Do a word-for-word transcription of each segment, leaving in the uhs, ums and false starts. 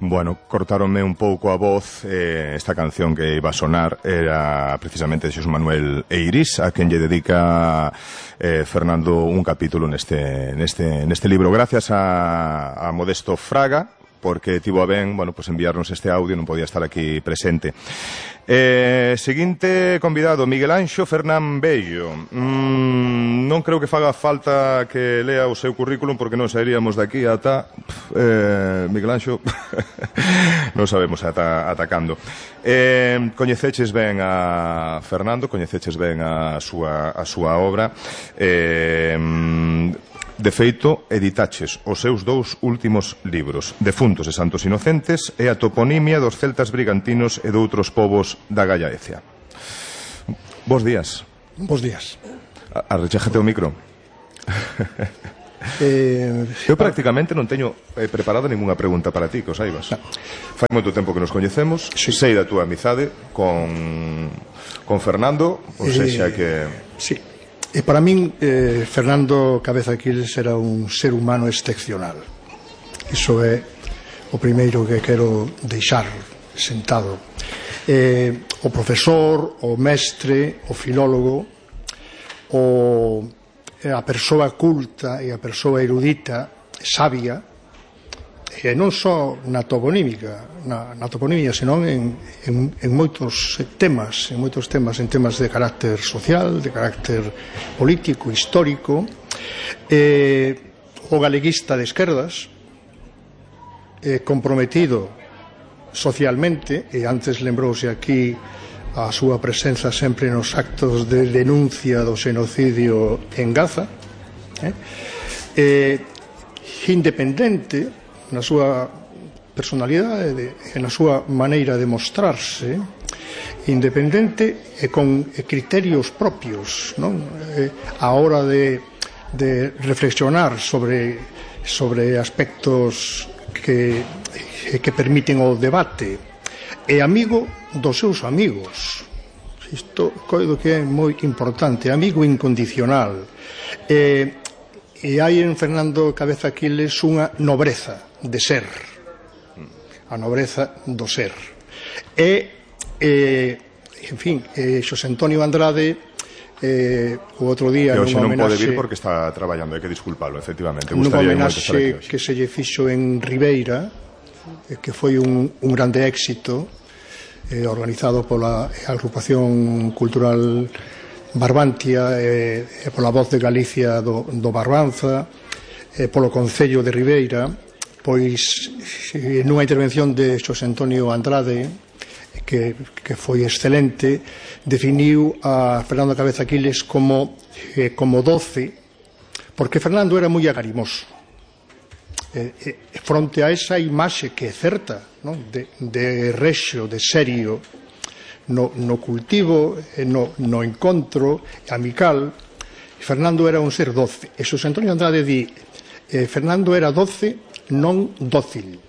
Bueno, cortáronme un pouco a voz. eh, Esta canción que iba a sonar era precisamente de Xosé Manuel Eiris, a quen lle dedica eh, Fernando un capítulo neste, neste, neste libro. Gracias a, a Modesto Fraga, porque tivo a ben, bueno, pues enviarnos este audio, non podía estar aquí presente. Eh, seguinte convidado, Miguel Anxo Fernán Bello. mm, Non creo que faga falta que lea o seu currículum, porque non sairíamos daqui ata eh, Miguel Anxo non sabemos ata, ata cando. eh, Coñeceches ben a Fernando, coñeceches ben a súa, a súa obra. eh, De feito, editaches os seus dous últimos libros, Defuntos e Santos Inocentes e a toponimia dos celtas brigantinos e doutros povos da Gallaecia. Bos días. Bos días. Arrechájate o micro. eh, Eu prácticamente non teño eh, preparado ninguna pregunta para ti, que o saibas. No. Fai moito tempo que nos coñecemos, sí. Sei da túa amizade con, con Fernando, ou sexa que... Sí. E para min, eh, Fernando Cabeza Aquiles era un ser humano excepcional. Iso é o primeiro que quero deixar sentado. Eh, o profesor, o mestre, o filólogo, o, a persoa culta e a persoa erudita, sabia, e non só na toponímica, na, na toponimia, senón en, en, en moitos temas, en moitos temas, en temas de carácter social, de carácter político, histórico. Eh, o galeguista de esquerdas, eh, comprometido socialmente, e antes lembrouse aquí a súa presenza sempre nos actos de denuncia do xenocidio en Gaza, eh, eh, independente na súa personalidade e na súa maneira de mostrarse, independente e con criterios propios, non? Eh, a hora de, de reflexionar sobre, sobre aspectos que, que permiten o debate, e amigo dos seus amigos. Isto coido que é moi importante, amigo incondicional. E, e hai en Fernando Cabeza Aquiles unha nobreza de ser, a nobreza do ser. E, eh, en fin, eh, Xosé Antonio Andrade, eh, o outro día que hoxe non homenaxe, pode vir porque está traballando, hai que disculpalo, efectivamente. Nunha homenaxe que se lle fixo en Ribeira, eh, que foi un, un grande éxito, eh, organizado pola agrupación cultural Barbantia e, e pola Voz de Galicia do, do Barbanza, e polo Concello de Ribeira. Pois nunha intervención de Xosé Antonio Andrade, que, que foi excelente, definiu a Fernando Cabeza Aquiles como, eh, como doce, porque Fernando era moi agarimoso. Eh, eh, fronte a esa imaxe que é certa, non? De, de rexo, de serio, no, no cultivo, no, no encontro amical, Fernando era un ser doce. E Xosé Antonio Andrade di, eh, Fernando era doce, non dócil.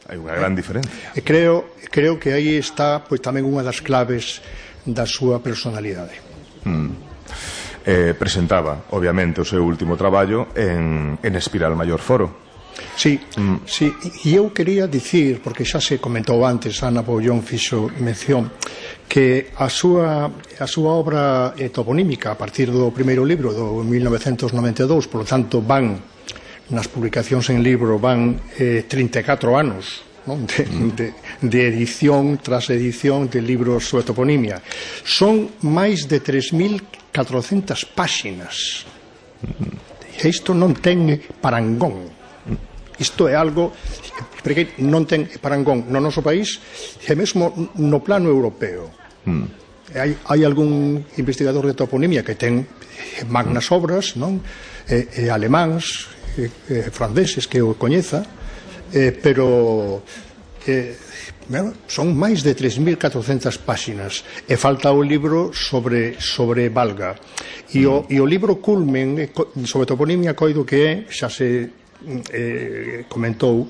Hai unha gran diferencia. E creo, creo que aí está pois tamén unha das claves da súa personalidade. Mm. Eh, presentaba, obviamente, o seu último traballo en, en Espiral Maior Foro. Sí, mm. sí, e eu quería dicir, porque xa se comentou antes, Ana Poullón fixo mención, que a súa, a súa obra eh, toponímica a partir do primeiro libro do mil novecentos noventa e dous, por lo tanto van nas publicacións en libro van eh, trinta e catro anos, non? De, de, de edición tras edición de libros sobre toponimia. Son máis de tres mil catrocentas páxinas. E isto non ten parangón. Isto é algo porque non ten parangón no noso país e mesmo no plano europeo. Mm. Hai, hai algún investigador de toponimia que ten magnas obras, non? E, e alemáns, e, e franceses que o coñeza, eh, pero eh, bueno, son máis de tres mil catrocentas páxinas e falta o libro sobre, sobre Valga. E o, e o libro culmen sobre toponimia coido que é, xa se eh, comentou,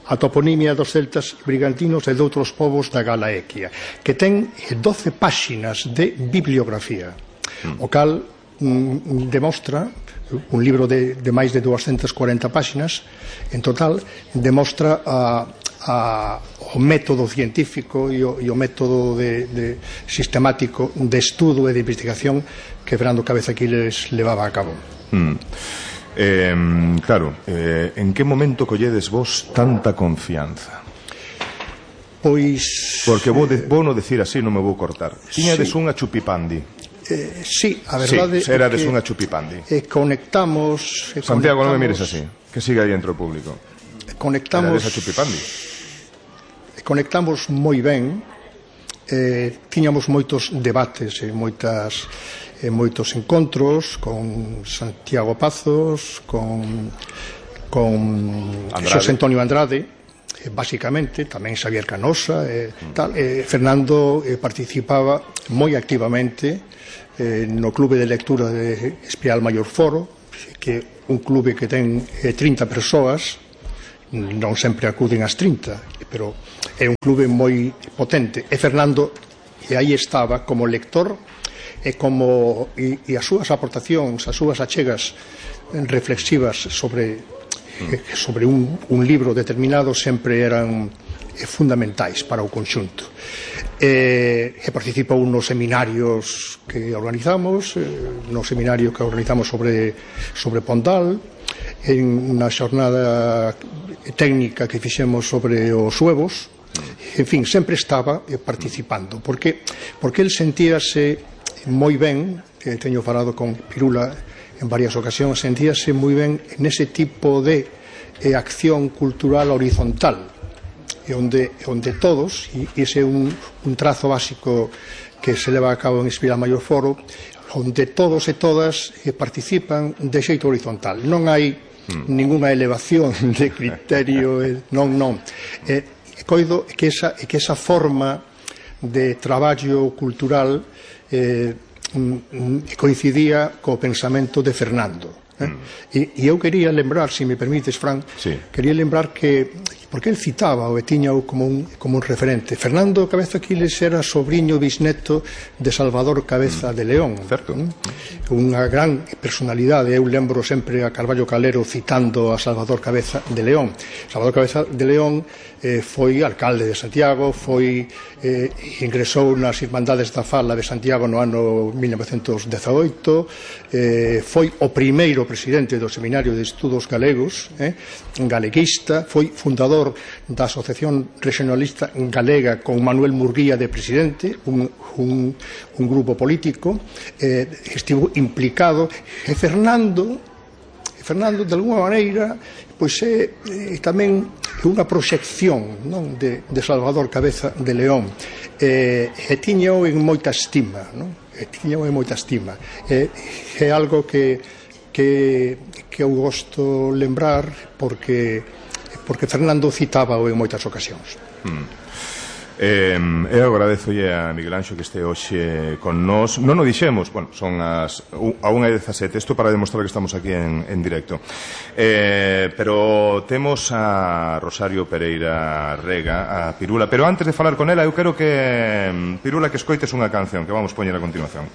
a toponimia dos celtas brigantinos e de outros povos da Galaequia, que ten doce páxinas de bibliografía, o cal mm, demostra, un libro de, de máis de doscientas cuarenta páxinas en total, demostra a, a, o método científico e o, e o método de, de sistemático de estudo e de investigación que Fernando Cabeza Quiles levaba a cabo. Mm. Eh, claro, eh, en que momento colledes vos tanta confianza? Pois... Porque vou, de, vou no decir así, non me vou cortar. Tiñades sí. unha chupipandi. Eh, sí, a verdade sí, erades é que unha chupipandi. eh, conectamos... Eh, Santiago, conectamos, non me mires así, que siga aí entre o público. Conectamos... Erades a chupipandi. Conectamos moi ben, eh, tiñamos moitos debates e moitas... en moitos encontros con Santiago Pazos, con, con Xosé Antonio Andrade, eh, basicamente, tamén Xavier Canosa, eh, tal, eh, Fernando eh, participaba moi activamente eh, no clube de lectura de Espiral Maior Foro, que é un clube que ten eh, trinta persoas, non sempre acuden as trinta, pero é un clube moi potente, e Fernando e aí estaba como lector e como e, e as súas aportacións, as súas achegas reflexivas sobre eh, sobre un, un libro determinado sempre eran eh, fundamentais para o conxunto. E, e participou nos seminarios que organizamos, eh, no seminario que organizamos sobre sobre Pondal, en unha xornada técnica que fixemos sobre os huevos. En fin, sempre estaba eh, participando, porque porque el sentíase moi ben, que teño falado con Pirula en varias ocasións, sentíase moi ben nese tipo de eh, acción cultural horizontal, e onde, onde todos, e ese é un, un trazo básico que se leva a cabo en Espiral Maior Foro, onde todos e todas eh, participan de xeito horizontal. Non hai mm. ningunha elevación de criterio, eh, non, non. Eh, coido que esa, que esa forma de traballo cultural eh, coincidía co pensamento de Fernando, eh? mm. e, e eu quería lembrar, se me permites, Fran, sí. quería lembrar que porque el citaba o tiñao como un, como un referente. Fernando Cabeza Quiles era sobriño bisneto de Salvador Cabeza mm. de León, certo. ¿eh? Unha gran personalidade. Eu lembro sempre a Carballo Calero citando a Salvador Cabeza de León. Salvador Cabeza de León eh, foi alcalde de Santiago, foi eh, ingresou nas Irmandades da Fala de Santiago no ano mil novecentos dezaoito, eh, foi o primeiro presidente do Seminario de Estudos Galegos, eh, galeguista, foi fundador da Asociación Regionalista Galega con Manuel Murguía de presidente, un, un, un grupo político, eh, estivo implicado, e Fernando Fernando de alguma maneira pois é, é tamén unha proxección, non, de, de Salvador Cabeza de León, e, e tiñao en moita estima, non? E tiñao en moita estima, e, é algo que, que, que eu gosto lembrar porque porque Fernando citábao en moitas ocasións. Mm. Eh, eu agradezolle a Miguel Anxo que este hoxe con nós. Non o dixemos, bueno, son as a unha e dezasete, isto para demostrar que estamos aquí en, en directo, eh, pero temos a Rosario Pereira Rega, a Pirula, pero antes de falar con ela eu quero que Pirula que escoites unha canción que vamos poñer a continuación.